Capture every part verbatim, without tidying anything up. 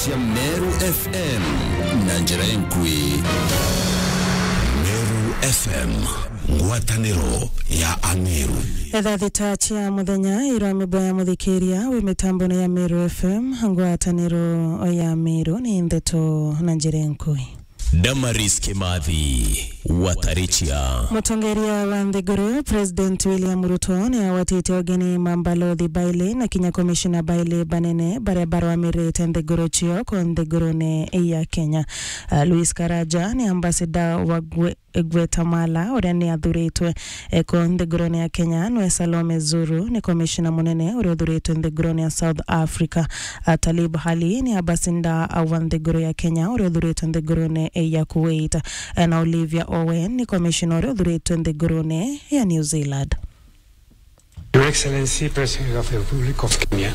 Cia Meru F M na njira inkui. Meru F M, ngwataniro ya Ameru. Thaa thita cia muthenya, irwa mibwa ya muthikiria wi mitambone ya Meru F M, ngwataniro ya Meru ni ndeto na njira inkui. Damaris Kimathi, Watarichia. Mutongeria wa nthiguru, President William Ruto, ni awatite ugeni ma mbalothi baili na kinya komishina baili banene baria barwamirite nthiguru cio ko nthigurune ya Kenya. Ah, Louis Karaja ni ambassador wa Gwe-, Guatemala, uria ni athuritwe, eh, ko nthigurune ya Kenya, nwe Salome Zuru ni komishina munene uria uthuritwe nthigurune ya South Africa. Ah, Talib Ali ni ambassador wa nthiguru ya Kenya uria uthuritwe nthigurune ya Kuwait, eh, na Olivia Owen ni komishina uria uthuritwe nthigurune ya New Zealand. Your Excellency, President of the Republic of Kenya,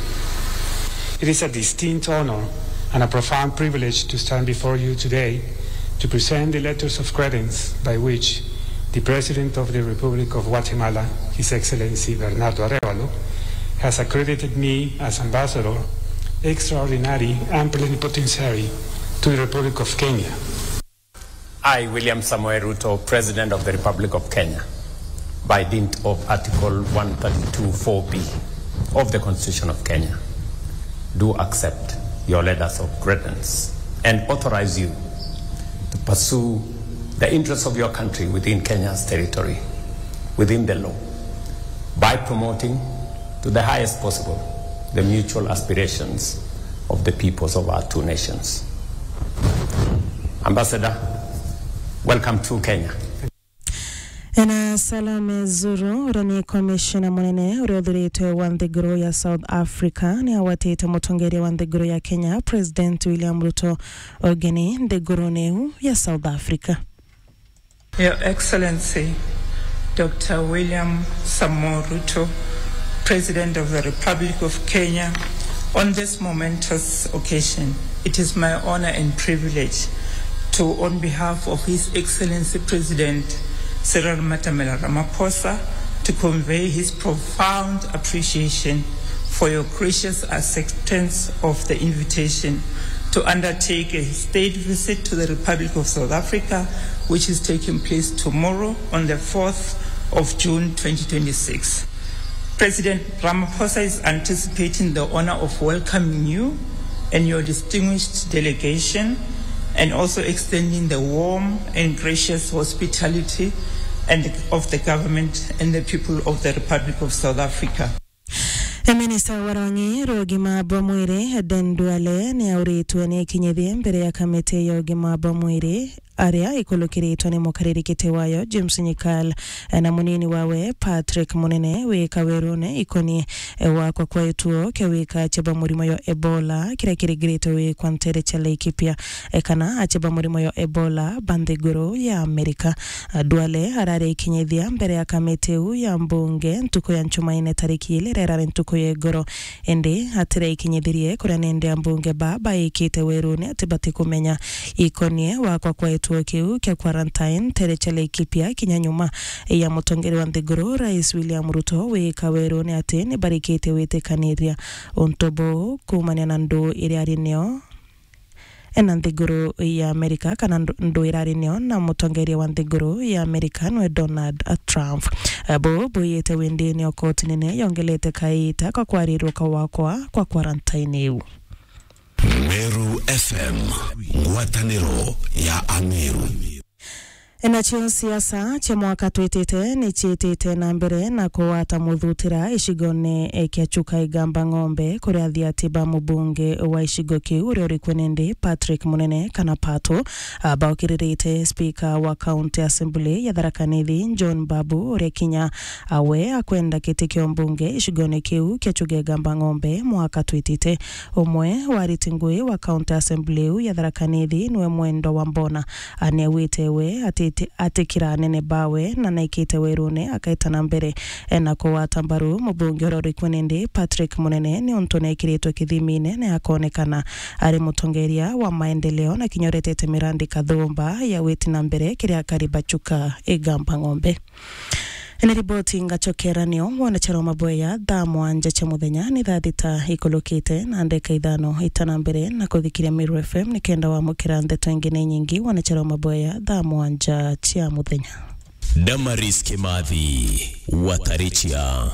it is a distinct honor and a profound privilege to stand before you today to present the letters of credence by which the President of the Republic of Guatemala, His Excellency Bernardo Arevalo, has accredited me as Ambassador Extraordinary and Plenipotentiary to the Republic of Kenya. I, William Samoei Ruto, President of the Republic of Kenya, by dint of Article one thirty-two four B of the Constitution of Kenya, do accept your letters of credence and authorize you to pursue the interests of your country within Kenya's territory, within the law, by promoting to the highest possible the mutual aspirations of the peoples of our two nations. Ambassador, welcome to Kenya. Ena Salome Zuru, uria ni komishina munene uria uthuritwe wa nthiguru ya South Africa, ni awatite mutongeria wa nthiguru ya Kenya, President William Ruto, ugeni nthigurune iu ya South Africa. Your Excellency, Doctor William Samoei Ruto, President of the Republic of Kenya, on this momentous occasion, it is my honor and privilege to, on behalf of His Excellency President Cyril Matamela Ramaphosa, to convey his profound appreciation for your gracious acceptance of the invitation to undertake a state visit to the Republic of South Africa, which is taking place tomorrow on the fourth of June twenty twenty-six. President Ramaphosa is anticipating the honor of welcoming you and your distinguished delegation, and also extending the warm and gracious hospitality and of the government and the people of the Republic of South Africa. E, minista wa rwang'i rwa ugima bwa mwiri, Aden Duale, ni auritwe ni ikinyithie mbere ya kamiti ya ugima bwa mwiri, aria ikulukiritwe ni mukariri giti wayo, James Nyikal, e, na munini wawe, Patrick Munene, wi kawerune ikonie, e, gwakwa kwa gituo kia wika acia ba murimo yo Ebola, kiria kiringiritwe gwikwa ntere cia Laikipia, e, kana acia ba murimo yo Ebola ba nthiguru ya Amerika. Duale araria ikinyithia mbere ya kamiti iu ya mbunge ntuku ya Njumaine tariki ili, rirari ntuku ya igoro. Indi atira ikinyithirie kuria nende ambunge ba baikite werune ati batikumenya ikonie gwakwa kwa gituo kiu kia quarantine ntere cia Laikipia kinya nyuma ya mutongeria wa nthiguru, Rais William Ruto, wika werune ati ni barikite witikaniria untu buu kuumania na nduu iria ari nio ena nthiguru ya Amerika, kana ndu-, ndwirari nio na mutongeria wa nthiguru ya Amerika nwe Donald Trump. Abo bwiyite windini o koti nene yongelete kaita ka kwarirwa kwa wakwa kwa quarantine iu. Meru F M, ngwataniro ya Ameru. Enacio siasa cia mwaka twitite ni ciitite na mbere na kugwata muthutira icigone kia Chuka Igamba Ng'ombe, kuria athiati ba mubunge wa icigo kiu uria uri kuo nindi Patrick Munene kana Pato, a, baukiririte speaker wa County Assembly ya Tharaka Nithi John Babu, uria kinya a we akwenda giti kia umbunge icigone kiu kia Chuka Igamba Ng'ombe mwaka twitite. Umwe wa ariti ngui wa County Assembly iu ya Tharaka Nithi niwe Mwendwa Wambona, a, niaugite we atiti-, atikira anene bawe na naikite werune akaita na mbere, e, na kugwata mbaru mubunge uria uri kuo nindi Patrick Munene niuntu nekiritwe kithimine na akonekana ari mutongeria wa maendeleo na kinya uretete mirandi kathumba ya witi na mbere kiri akari ba Chuka Igamba Ng'ombe. Ni riboti ngacokera nio, wanachara wa maboya thaa mwanja cia muthenya ni thaa thita ikulukite na ndeka ithano itana mbere na kuthikiria Meru F M ni kenda wamukira ndeto ingi ni nyingi, wanachara wa maboya thaa mwanja cia muthenya. Damaris Kimathi, Watarichia.